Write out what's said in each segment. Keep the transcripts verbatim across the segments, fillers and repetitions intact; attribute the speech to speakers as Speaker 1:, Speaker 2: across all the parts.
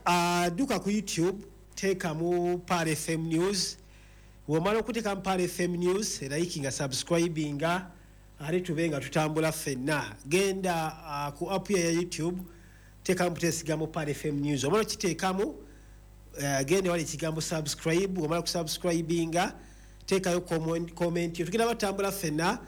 Speaker 1: Uh, duka ku YouTube, teekamu Pearl F M News. Bw'omala okuteekamu Pearl F M News, likinga, subscribinga, ate tube nga tutambula ffenna. Genda uh, ku app ya YouTube, teekamu buteesigamu Pearl F M News. Omala okiteekamu, uh, genda wali ekigambo "subscribe". Omala kusubscribinga, teekayo comment comment yo. Tugenda batambula ffenna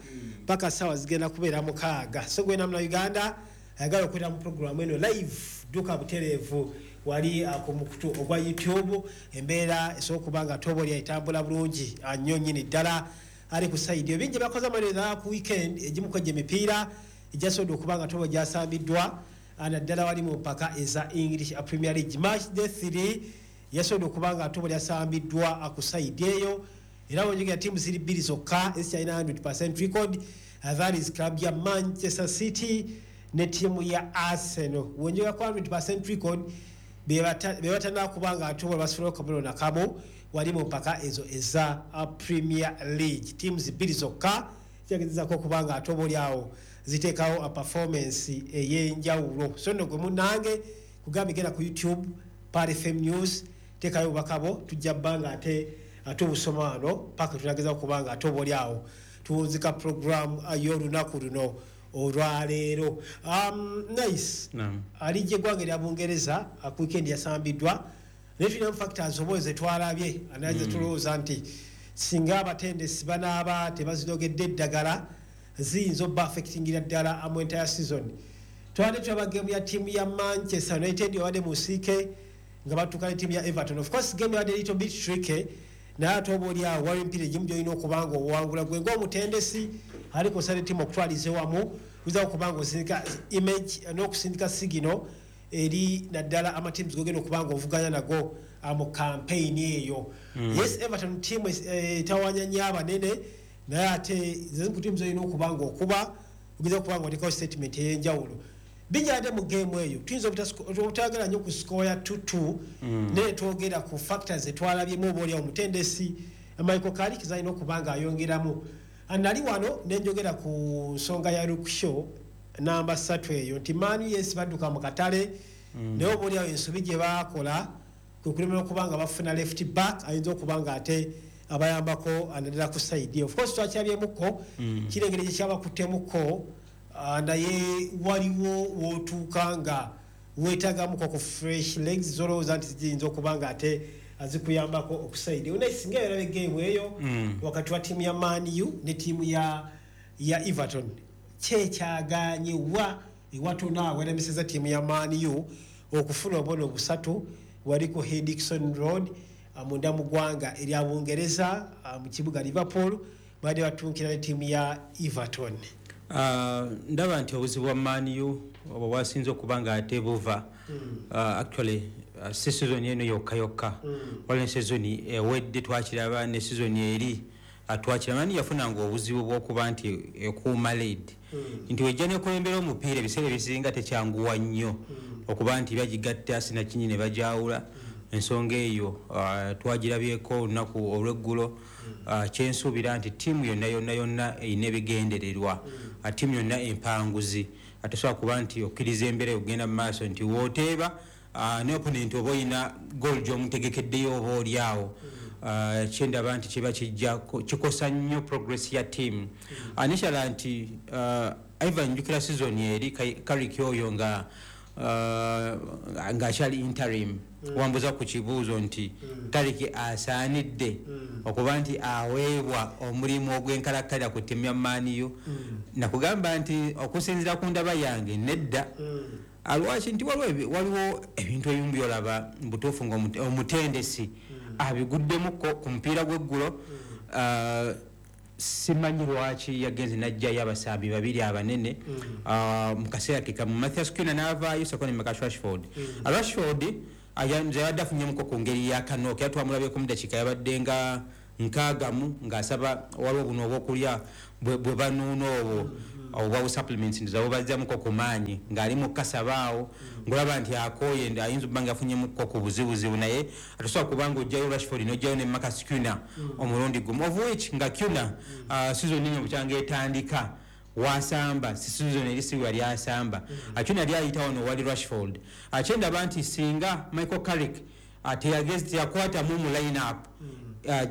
Speaker 1: paka saawa zigenda kubeera mukaaga. So gwena muna Uganda ayagala okubeera mu programu eno live, duka butereevu wali uh, ku mukutu ogwa YouTube. Embeera esobola okuba nga toba oli etambula bulungi uh, nnyo nnyini ddala. Ali ku side ebingi bakoze amalira ku weekend, egimu kwejja emipiira egyasobodde okuba nga toba gyasambiddwa, uh, naddala wali mu mpaka eza English Premier League. Match day three yasobodde okuba nga toba lyasambiddwa ku side eyo, era wenjogera tiimu ziri bbiri zokka ezikyalina one hundred record, uh, that is club ya Manchester City ne ttiimu ya Arsenal. Wenjogera ku one hundred record, be batanakuba nga ate basobola okabonero nakamu wali mu mpaka ezo eza uh, Premier League. Teams bbiri zokka kyagezezako okuba nga ate oba oliawo ziteekawo a performance ey'enjawulo. So nno gwe munnange kugambye, genda ku YouTube, Pearl F M News, teekayo obubaka bwo, tujja bba nga ate tubusoma wano paka tunageza okuba nga ate oba oliawo tuwunzika program y'olunaku luno olwaleero. um, nice
Speaker 2: Naam.
Speaker 1: Alijja eggwanga erya Bungereza ku weekend yasambiddwa, naye tulinamu factors oba zetwalabye anaye zetulowooza nti singa abatendesi banaaba tebazinogedde eddagala, ziyinza obba affectingira ddala mu entire season. Twabadde tulaba game ya ttiimu ya Manchester United obadde mu nsiike nga batuuka ne ttiimu ya Everton. Of course game yabadde little bit tricky, naye ate oba oli awo waliwo emipiira egimu gyolina okuba nga owangula gwe ngaomutendesi aliko osala ttiimu okutwaliza ewamu, oyinza okuba nga osindika image n'okusindika signal eri naddala amatiimu gogenda okuba nga ovuganya nago ah, mu campaign eyo. Yes, Everton team etawanya nnyo abanene, naye ate zezimu ku tiimu zolina okuba nga okuba ogeza okuba nga otekawo statement ey'enjawulo. Bijadde mu game eyo, tuyinza obutayagala nnyo ku score ya two two, naye twogera ku factors etwalabyemu oba oliawo omutendesi Michael Carrick zalina okuba nga ayongeramu. Nali wano nenjogera ku nsonga ya Luke Shaw namba ssatu eyo nti Man U, yes, badduka mu katale, naye oba oliawo ensobi gye baakola kwe kulemera okuba nga bafuna left back ayinza okuba nga ate abayambako naddala ku side. Of course twakirabyemuko kirengere gye kyabakuttemuko, ah, naye waliwo wootuuka nga weetagamuko ku fresh legs zolowooza nti ziyinza okuba nga ate azikuyambako okuside. Naye singa yaraba egame eyo wakati wa ttiimu ya Man U ne ttiimu ya ya Everton, kyekyaganye wa ewatono awo eremeseza ttiimu ya Man U okufuna obubonero busatu wali ku Dixon Road, ah, munda mu ggwanga erya Bungereza, ah, mu kibuga Liverpool, badde batunkira ne ttiimu ya Everton?
Speaker 2: Ah, ndaba nti obuzibu bwa Man U obwo bwasinze okuba nga ate buva ah, actually ah, si season eno yokka yokka, waliwo ne season ewedde twakiraba, ne season eri ah, twakiraba. Man U yafunanga obuzibu bw'okuba nti ekuuma lead, nti wejja nekulembera omupiira, ebiseera ebisinga tekyanguwa nnyo okuba nti bagigatta sinakinyi ne bajawula. Ensonga eyo ah, twagirabyeko olunaku olweggulo. Ah, kyensuubira nti ttiimu yonna yonna yonna erina ebigendererwa. Ah, ttiimu yonna empanguzi atosobola kuba nti okkiriza embeera okugenda mu maaso nti wooteeba ah, ne opponent oba oyina goal gy'omutegekeddeyo oba oli awo. Ah, kyendaba nti kiba kijja ko- kikosa nnyo progress ya team. Ah, nekirala nti ah, Ivan, njukira season eri Carrick oyo nga ah, ng'akyali interim, wambuza ku kibuuzo nti Carrick asaanidde okuba nti aweebwa omulimu ogw'enkalakkalira ku ttiimu ya Man U. Nakugamba nti okusinziira ku ndaba yange, nedda. Alwaki? Nti waliwo ebi- waliwo ebintu ebimu byolaba mu butuufu nga omute- omutendesi abiguddemukko ku mupiira gw'eggulo. Ah, simanyi lwaki yagenze najjayo abasambi babiri abanene ah, mu kaseera ke kamu, Mathias Cunha n'avaayo sako ne Marcus Rashford. Ah, Rashford aya- nze yabadde afunyemuko ku ngeri ya kanoke, era twamulabyeko mu dakiika yabadde nga nkaagamu ng'asaba waliwo buno obwokulya bwe bwe banuuna obwo obwa bu supplements, nti bubazzamuko ku maanyi, ng'ali mu kasaba awo ng'olaba nti akooye, ndi ayinza okuba nga afunyemuko ku buzibuzibu, naye atosobola kubanga ojjayo Rashford n'ojjayo ne Marcus Cunha omulundi gumu, of which nga Cunha uh, season eno bukyanga etandika Wasamba season eri si yali asamba. Acuna yali ayita wano wali Rashford. Akyendaba nti singa Michael Carrick ateyagezi yakwata mu mu line up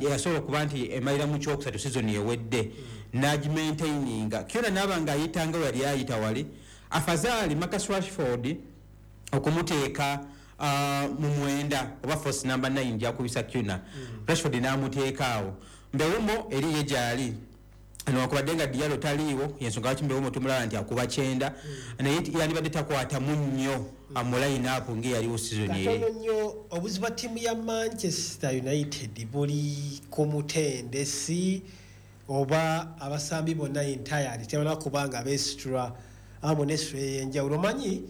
Speaker 2: yasobola okuba nti emalira mu kyokusatu season ewedde n'agimaintaininga Cunha n'aba nga ayitanga we yali ayita wali, afazaali Marcus Rashford okumuteeka uh, mu mwenda oba false number nine gyakubisa Cunha, Rashford n'amuteeka awo. Mbeumo eri ye gyali newankubadde nga Diallo taliiwo, yensonga lwaki Mbeumo tumulaba nti akuba kyenda, naye yandibadde takwatamu nnyo mu line up ng'eyaliwo season eri.
Speaker 1: Katono nnyo. Obuzibu bwa ttiimu ya Manchester United buli ku mutendesi oba abasambi bonna entirely tebana kuba nga beesitula amu nesitula ey'enjawulo? Omanyi,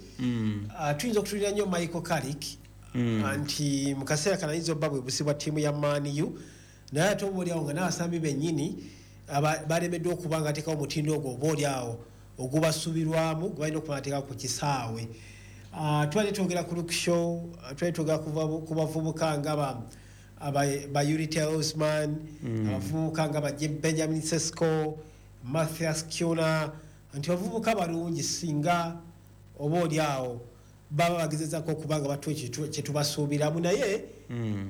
Speaker 1: ah, tuyinza okutulira nnyo Michael Carrick nti mu kaseera kano ayinza obba bwe buzibu bwa ttiimu ya Man U, naye ate oba oliawo nga n'abasambi bennyini aba- balemeddwa okuba nga ateekawo omutindo ogwo oba oliawo ogubasubirwamu gwe balina okuba nga ateekawo ku kisaawe. Ah, tubadde twogera ku Luke Shaw, ah, tubadde twogera ku bavu- ku bavubuka nga ba aba- ba Youri Tielemans, abavubuka nga ba Benjamin Sesko, Mathias Cunha, nti bavubuka balungi singa oba oli awo baba bagezezako okuba nga batuwa kye tubasuubiramu, naye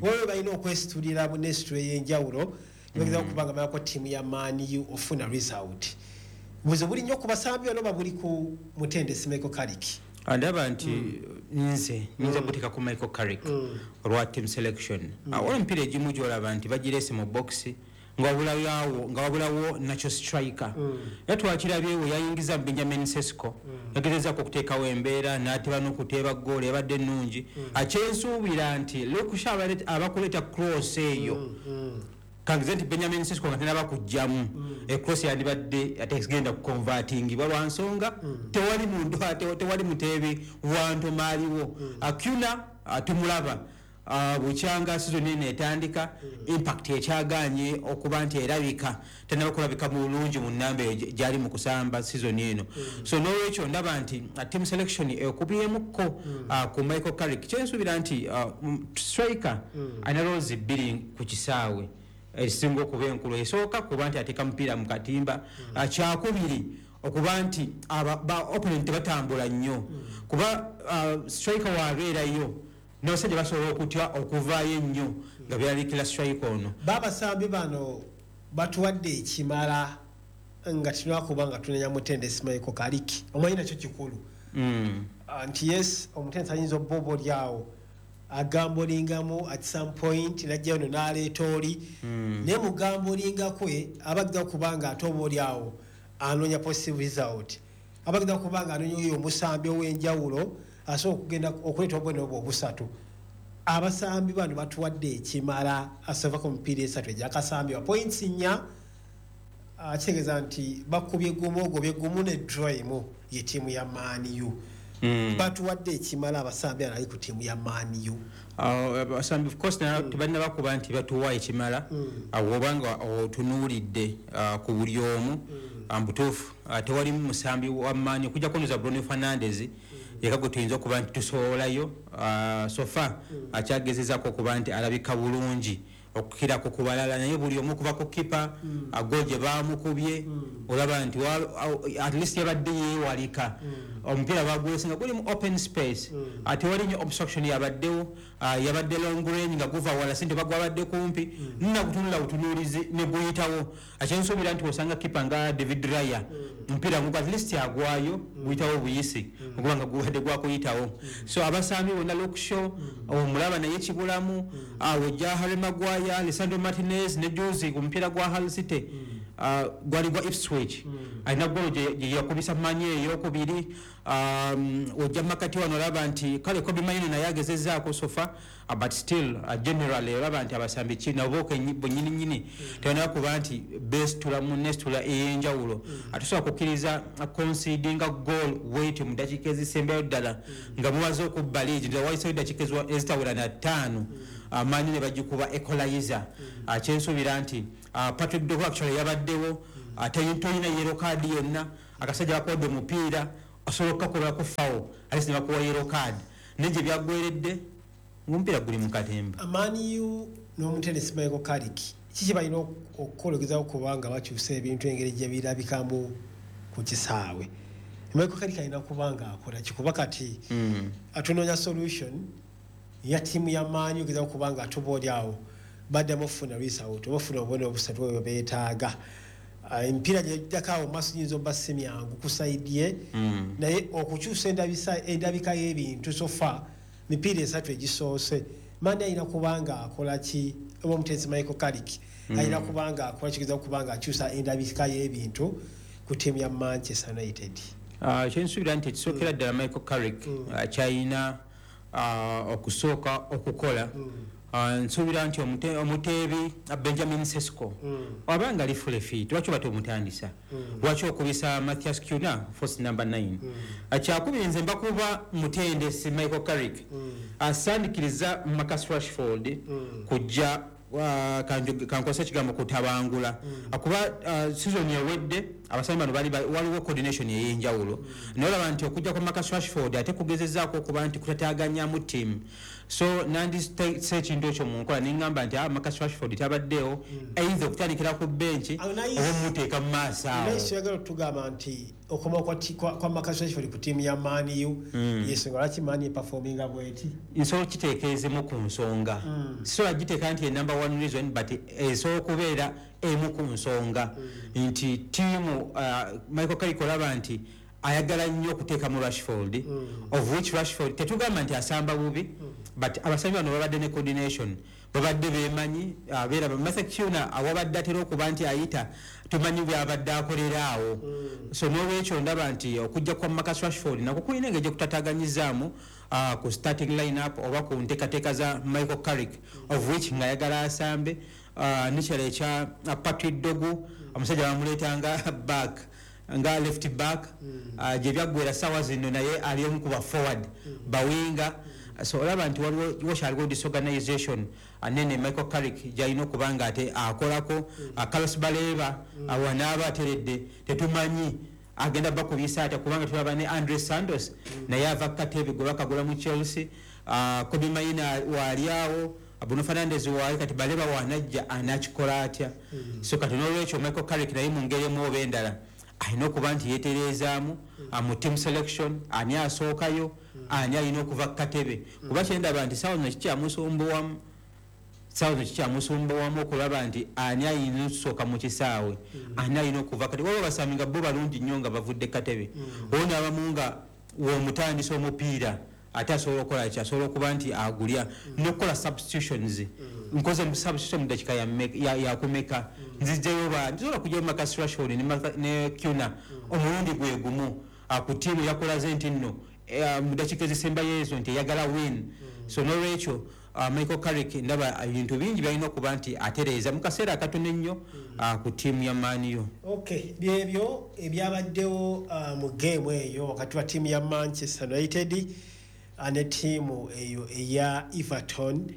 Speaker 1: waliwo balina okwesitulira mu nesitula ey'enjawulo nibagezako okuba nga balako ttiimu ya Man U ofuna result. Buzibu buli nnyo ku basambi bano, buli ku mutendesi Michael Carrick?
Speaker 2: Ndaba nti nze nyinza kuteeka ku Michael Carrick olwa team selection. Waliwo emipiira egimu gyolaba nti bagirese mu box nga wabulawo nga wabulawo natural striker, era twakirabye we yayingiza Benjamin Sesko, yagezezaako okuteekawo embeera n'ateba n'okuteeba goolo ebadde ennungi. Akyensuubira nti Luke Shaw abakuleeta cross eyo, kangize nti Benjamin Sesko nga tenaba kujjamu ecross yandibadde ategenda kuconvertingibwa lwa nsonga tewali muntu, tewali muteebi wantoma aliwo. Cunha tumulaba bukyanga season eno etandika, impact ekyaganye okuba nti erabika, tenaba kulabika bulungi mu namba eyo gyali mu kusamba season eno. So nolwekyo ndaba nti team selection ekubyemukko ku Michael Carrick. Kyensuubira nti striker alina roles bbiri ku kisaawe ezisinga okuba enkulu. Esooka kuba nti ateeka mupiira mu katimba, kyakubiri okuba nti ba opponent tebatambula nnyo, kuba striker waabeerayo n'abasajja basobola okutya okuvaayo ennyo nga byeralikira striker ono.
Speaker 1: Babasambi bano batuwadde ekimala nga tulina nga tunenya mutendesi Michael Carrick? Omanyi nakyo kikulu nti yes, omutendesi ayinza obba oba oli awo agambolingamu at some point najjayo no n'aleeta oli, naye mugambolinga kwe abagenda kuba nga ate oba oli awo anoonya positive result, abagenda kuba nga anoonya oyo omusambi ow'enjawulo asobola okugenda okuleeta obubonero obwo obusatu. Abasambi bano batuwadde ekimala asava ku mipiira esatu egyakasambibwa, points nnya, kitegeeza nti bakubye gumu, ogobye gumu ne draw emu ye ttiimu ya Man U.
Speaker 2: Mm.
Speaker 1: Batuwadde ekimala abasambi ano ali ku ttiimu ya Man U?
Speaker 2: Abasambi of course tebalina bakuba nti batuwa ekimala, awo obanga otunuulidde ah, ku buli omu, ah, mubutuufu ah, tewalimu musambi wa maanyi okujjako noza Bruno Fernandes yeka gwe tuyinza okuba nti tusobolayo. So far akyagezezaako okuba nti alabika bulungi okukirako ku balala, naye buli omu okuva ku kipa go gye bamukubye olaba nti at least yabadde yeewalika, omupiira bagwese nga guli mu open space, tewali nnyo obstruction yabaddewo, yabadde long range nga guva wala si nti bagwabadde kumpi, nina kutunula butunuulizi ne guyitawo. Akyensuubira nti osanga kipa nga David Raya omupiira ngugu at least agwayo guyitawo buyisi okuba nga gubadde gwakuyitawo. So abasambi bonna, Luke Shaw omulaba naye kibulamu, ojja Harry Maguire, Lisandro Martinez ne juzi ku mupiira gwa Hull City, gwali gwa Ipswich, alina golo gye yakubisa manyi eyokubiri. Ojja makati wano olaba nti kale Kobbie Mainoo naye agezezaako so far, but still uh, generally olaba nti abasambi nabo bonyini nyini tebanaba kuba nti besitula mu nesitula ey'enjawulo. Atusobola kukkiriza concedinga goal wait mu dakiika ezisembayo ddala nga mubaze okubba lead, wayiseyo dakiika ezitawera na ttaano, amaanyi ne bagikuba equalizer. Kyensuubira nti Patrick Dorgu actually yabaddewo, tolina yellow card yonna, akasajja bakuwadde omupiira osobola okukakolako foul at least ne bakuwa yellow card, naye gye byaggweredde ng'omupiira guli mu katemba.
Speaker 1: Man U n'omutendesi Michael Carrick kiki balina okukola ogezaako kuba nga bakyusa ebintu engeri gye birabikamu? ku kisaawe. Michael Carrick alina kuba nga akola kikuba kati
Speaker 2: Mm.
Speaker 1: atunoonya solution ya ttiimu ya Man U ogeza okuba nga ate oba oli awo baddamu okufuna result oba ofuna obubonero obusatu bwe beetaaga. Ah, emipiira gyejjako awo maaso giyinza obba si myangu ku side ye,
Speaker 2: Mm.
Speaker 1: naye okukyusa endabisa- endabika y'ebintu, so far mipiira esatu egisoose, Man U alina kuba nga akola ki, oba omutendesi Michael Carrick alina kuba nga akola kigeza okuba nga akyusa endabika y'ebintu ku ttiimu ya Manchester United?
Speaker 2: Ah, kyensuubira nti ekisookera ddala Michael Carrick ah, kyalina ah, okusooka okukola, Ah, nsuubira nti omute- omuteebi ah, Benjamin Sesko aba nga ali fully fit, lwaki oba tomutandisa? Lwaki okubisa Matheus Cunha false number nine? Kyakubiri, nze mbakuba mutendesi Michael Carrick asandikiriza Marcus Rashford kujja ah, kanjo- kankozesa ekigambo kutabangula, kuba ah, season ewedde abasambi bano bali ba- waliwo coordination ey'enjawulo, naye olaba nti okujja kwa Marcus Rashford ate kugezezaako okuba nti kutataganyamu team. So nandise ekintu ekyo mu nkola neŋŋamba nti ah, Marcus Rashford tabaddeewo, either okutandikira ku benchi
Speaker 1: Awo naye-
Speaker 2: oba omuteeka mu maaso awo.
Speaker 1: Naye oyagala otugamba nti okoma kwa ti- kwa kwa Marcus Rashford ku ttiimu ya Man U yensonga lwaki Man U eperforminga bweti?
Speaker 2: Nsobola okiteekeezemu ku nsonga, sisobola giteeka nti e number one reason, but esobola okubeera emu ku nsonga nti tiimu uh, Michael Carrick olaba nti ayagala nnyo okuteekamu Rashford, of which Rashford tetugamba nti asamba bubi, but abasambi bano babadde ne coordination, babadde bemanyi, abeera Matheus Cunha awabadde atera okuba nti ayita, tumanyi byabadde akolera awo. So n'olwekyo ndaba nti okujja kwa Marcus Rashford nako kulina engeri gyeikutataganyizaamu uh, ku starting line up oba ku nteekateeka za Michael Carrick, of which ng'ayagala asambe. uh, nekirala ekya uh, Patrick Dorgu, omusajja bamuleetanga back nga left back, uh, gye byaggwera sawa zino naye ali omu ku ba forward ba winger. So olaba nti waliwo wakyaliwo disorganization anene Michael Carrick gyalina okuba nga ate akolako. uh, carlos Baleba uh, wanaaba ateredde tetumanyi agenda bakubisa atya, kubanga tulaba ne Andre Santos naye ava katebe gwe bakagula mu Chelsea, uh, Kobbie Mainoo waali awo, Bruno Fernandes waali, kati Baleba wanajja anakikola atya? So kati nolwekyo Michael Carrick naye mu ngeri emu oba endala alina okuba nti yeterezaamu mu team selection, ani asookayo, ani alina okuva ku katebe, kuba kyendaba nti sawa zino kikyamusumbuwamu, sawa zino kikyamusumbuwamu okulaba nti ani alina okusooka mu kisaawe, ani alina okuva. Kati waliwo basambi nga bo balungi nnyo nga bavudde katebe, owo abamu nga womutandisa omupiira ate asobola okukola ki, asobola okuba nti agulya nokukola substitutions. Nkoze mu substitution mu dakiika yakumeka, nzijjayo ba nsobola kujjayo Marcus Rashford ne Cunha omulundi gwe gumu ku ttiimu yakolaze nti nno eh, mu dakiika ezisembayo ezo nti eyagala win. So nolwekyo uh, Michael Carrick ndaba ebintu bingi byalina okuba nti atereeza mu kaseera akatono ennyo uh, ku ttiimu ya Man U.
Speaker 1: Okay, byebyo ebyabaddewo uh, mu geemu eyo wakati wa ttiimu ya Manchester United uh, ne ttiimu eyo eya Everton.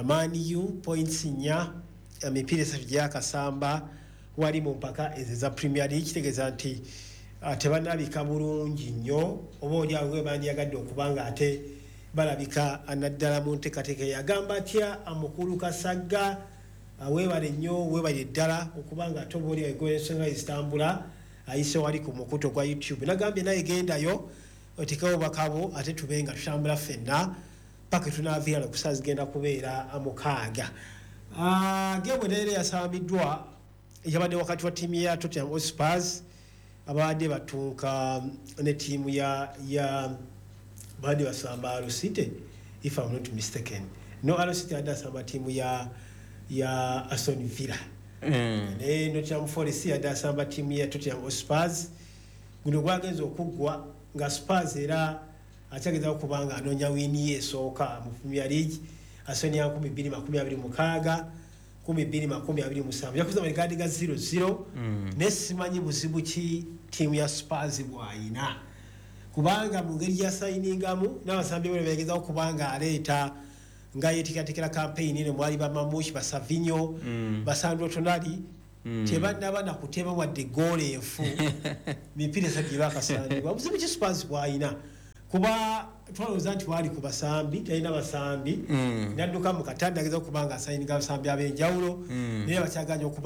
Speaker 1: Man U points nnya, emipiira esatu gyakasamba wali mu mpaka ezo eza Premier League, kitegeeza nti uh, tebanalabika bulungi nnyo oba oli awo we bandyagadde okuba nga ate balabika, naddala mu nteekateeka eyagamba atya mukulu Kasagga. Weebale nnyo, weebale ddala okuba nga ate oba oli awo ensonga ezitambula ayise wali ku mukutu ogwa YouTube, nagambye naye gendayo otekewo obubaka ate tube nga tutambula ffenna paka tunaaviira nokusaa zigenda kubeera mukaaga. Geemu endala yasambiddwa yabadde wakati wa ttiimu ya Tottenham Hotspurs abadde batunka ne ttiimu ya ya babadde basamba Hull City, if I'm not mistaken. No, Hull City adde asamba ttiimu ya ya Aston Villa
Speaker 2: mm.
Speaker 1: Ne Nottingham Forest yadde asamba ttiimu ya Tottenham Hotspurs. Guno gwagenza okuggwa nga Spurs era akyageza okuba nga anoonya win ye esooka mu Premier League asoni ya nkumi bbiri makumi abiri mukaaga nkumi bbiri makumi abiri musanvu, yakuza malikadi ga zero zero. mm. Naye simanyi buzibu ki ttiimu ya Spurs bw'ayina, kubanga mu ngeri gyasayiningamu n'abasambi bwe begezaho okuba nga aleeta nga yeteekateekera campaign eno, mwali ba Marmoush, ba Savinho, mm. ba Sandro Tonali, mm. tebannaba nakuteba wadde goolo enfu mipiira esatu gye bakasambibwa. Buzibu ki Spurs bw'ayina? Kuba twalowooza nti waali ku basambi, talina basambi, mm. nadduka mu katanda ageza okuba nga asayininga abasambi ab'enjawulo, mm. naye bakyaganya okuba